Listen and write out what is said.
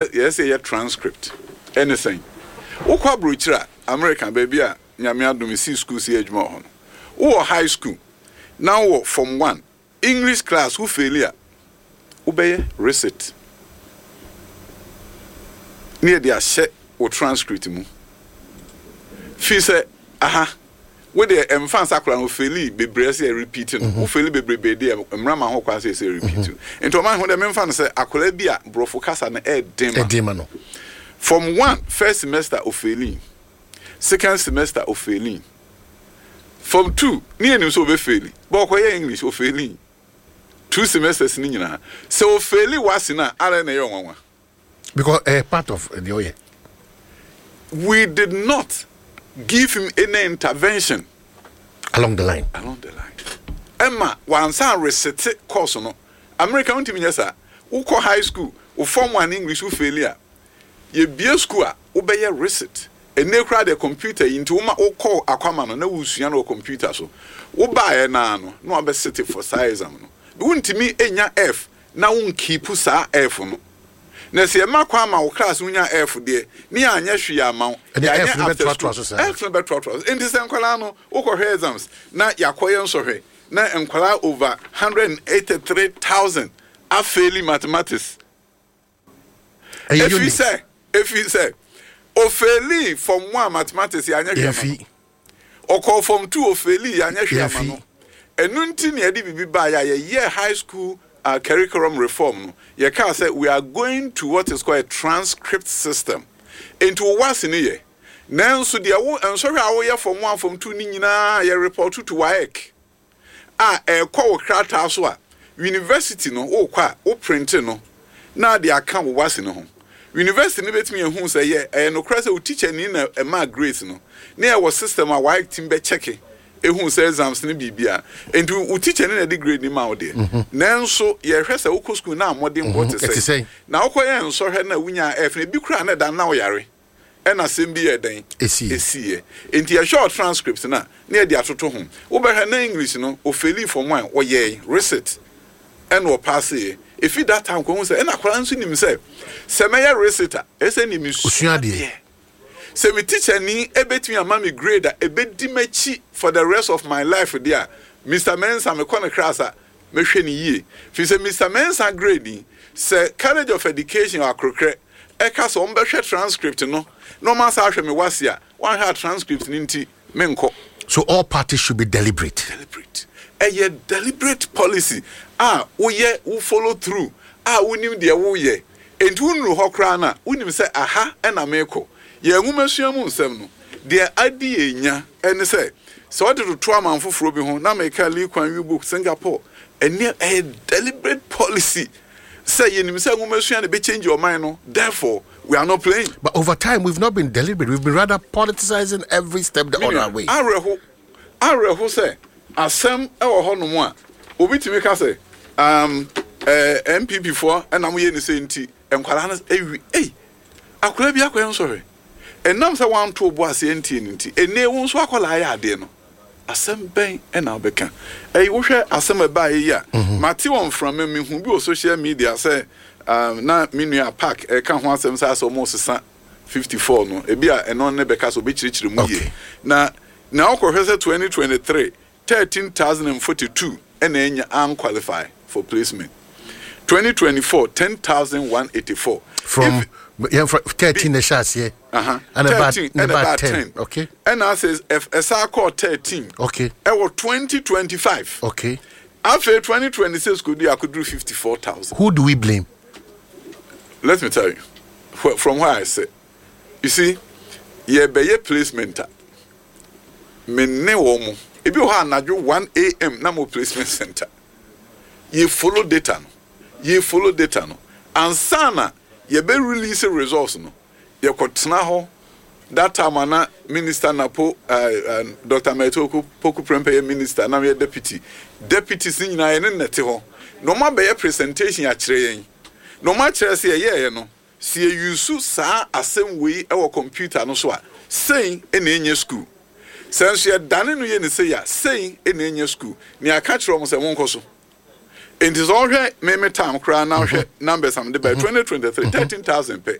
Yɛyɛ sɛ yɛyɛ transcript ɛne sɛn? Wokɔ abrokyire a, America baabi a Nyame adom mesii school sɛ yɛ adwuma wɔ hɔ no, wowɔ high school na wowɔ form one English class wo faili a, wobɛyɛ recit ne yɛde ahyɛ wo transcript mu. Firi sɛ aha Wo deɛ ɛmfa nsa koraa no ofeeli bebree ɛsɛ yɛ repeat no wo feeli bebrebe deɛ mmra ma ho kwan sɛ ɛsɛ repeat no nti ɔman ho deɛ memfa no sɛ akwadaa bi a borɔfo kasa no ɛɛden ma no from one first semester ofeeli second semester ofeeli from two ne yɛnim sɛ ɔbɛfeeli bɛ ɔkɔyɛ English ofeeli two semesters no nyinaa sɛ ofeeli wase no a ara na ɛyɛ ɔnwanwa. Because ɛyɛ part of deɛ ɔyɛ. We did not give him any intervention. Along the line. Along the line. Ɛma wansan resete course no. America wontumi nyɛ saa. Wokɔ high school, wo form one English wo faili a, yɛbie school a, wobɛyɛ resit. Ɛnnɛ koraa deɛ computer yi nti woma wokɔ akwama no na wosua no wɔ computer so. Wobaeɛ no ara no na wabɛsete for saa exam no. Wontumi nnya F na wo nkeepu saa F no. Na sɛ yɛma kwan ma wo class no nya F deɛ, ne yɛanyɛ hwee amma wo, Ɛnde yɛanyɛ F no after bɛtoatoa school, so saa. F no bɛtoatoa so. Enti sɛ nkwadaa no, wokɔhwɛ exams na yɛakɔyɛ nsɔhwɛ na nkwadaa over 183,000 afeeli mathematics. Ɛyɛ Ɛfiri unit. sɛ, ɛfiri sɛ, ofeelii form one mathematics yɛanyɛ hwee amma no. Yɛmfi. Ɔkɔɔ form two ofeelii yɛanyɛ hwee amma Yɛmfi. no. Ɛno nti na yɛde biribi baeɛ a yɛyɛɛ high school curriculum reform no, yɛkaa sɛ we are going to what is called a transcript system. Enti wo WASSCE no yɛ, nanso deɛ wo nsɔhwɛ a woyɛ form one, form two no nyinaa yɛ report to WAEC. a ɛrekɔ wo krataa so a, university no wokɔ a wo printe no na de aka wo WASSCE no ho. University no bɛtumi ahu sɛ yɛ ɛyɛ nokorɛ sɛ wo tikyani na ɛmaa grades no, na yɛwɔ system a WAEC tumi bɛ kyɛke ɛhu sɛ exams no biribiara. Nti wo tikyani na ɛde grade no ma wo deɛ, nanso yɛhwɛ sɛ wokɔ school na mmɔdenbɔ te sɛn. Na wokɔyɛ nsɔhwɛ no a wonyaa F no, ebi koraa na ɛda no na woyare. Ɛna asɛm bi yɛɛ dɛn? Esiiɛ. Enti yɛhwɛ ɔ transcript no a, na yɛde atoto ho. Wobɛhwɛ na English no, ofeelii form one, ɔyɛe, resit, ɛna ɔpaaseeɛ. Efi that time kɔ, wohu sɛ, ɛna akwadaa no nso nim sɛ, sɛ mɛyɛ resit a, ɛsɛ sɛ ɛnneɛ mesua adeɛ. Sɛ me tikyani bɛtumi ama me grade a ɛbɛdi m'akyi for the rest of my life deɛ a, Mister Mensah, mekɔ ne class a, mɛhwɛ no yie. Firi sɛ Mister Mensah grade yi, sɛ College of Education wɔ Akrokrɛ ɛka sɛ wɔbɛhwɛ transcript no na wɔasan ahwɛ me WASSCE a, wɔanhwɛ a transcript no nti menkɔ. So all parties should be deliberate. Deliberate. Ɛyɛ deliberate policy a woyɛ, wo follow through a wonim deɛ woreyɛ. Enti wonnuru hɔ koraa no a, wonim sɛ aha na merekɔ. Yɛn nwomasua mu nsɛm no, deɛ adi yɛn nya ne sɛ, sɛ wode toto aman foforɔ bi ho, na meka Lee Kuan Yew book, Singapore, ɛnneɛ ɛyɛ deliberate policy sɛ yɛnim sɛ nwomasua na ɛbɛchange ɔman no, therefore we are not playing. But over time, we've not been deliberate. We've been rather politicizing every step Me on nua, our way. awerɛho, awerɛho sɛ asɛm wɔ hɔnom a obi tumi ka sɛ, um, eh, NPP foɔ na moyɛ ne sei nti, nkwadaa no awi, ei, akwadaa bi akɔyɛ nsɔhwɛ. Ɛnam sɛ woanto wo bo ase antie no nti, ɛnnɛ wo nso akwadaa ayɛ adeɛ no. Asɛm bɛn na wobɛka? Ɛyi, wohwɛ asɛm a ɛbaeɛ yi a, mate wɔ mframa mu, mehu bi wɔ social media sɛ um, na me nua Park ɛka ho asɛm sɛ asɛ wɔresesa 54 no, ebi a ɛno ne bɛka sɛ ɔbɛkyerɛkyerɛ mu yie. Na na wokɔhwɛ sɛ 2023, 13,042 na anya anqualify for placement. 2024, 10,184. From yɛmfa 13 na ɛhyɛ aseɛ. Ɛna ɛbaa 13 ɛna ɛbaa 10. Okay. Ɛna afei ɛsan kɔɔ 13. Okay. Ɛwɔ 2025. Okay. Afei 2026 kɔdu akɔduru 54,000. Who do we blame? Let me tell you, from where I sit, you see, yɛbɛyɛ placement a, me ne wɔn mo, ebi wɔ hɔ anadwo 1 a.m. na mo placement center. Yɛ follow data no, yɛ follow data no. Ansa na yɛbɛ release results no, yɛkɔtena hɔ that time a na minister Napo Doctor Mercy Opoku Prempeh yɛ minister na meyɛ deputy. Deputies no nyinaa yɛne no na ɛte hɔ. Na wɔn abɛyɛ presentation akyerɛ yɛn. Na wɔn akyerɛ sɛ yɛyɛeɛ no, sɛ yɛ use saa asɛm wei wɔ computer no so a, sei na ɛnyɛ school. Sɛ nso yɛdane no yɛ no sei a, sei na ɛnyɛ school. Na yɛaka kyerɛ wɔn sɛ monkɔ so. Nti sɛ ɔhwɛ me me time koraa na ɔhwɛ numbers am de bɛ 2023, 13,000 pɛ.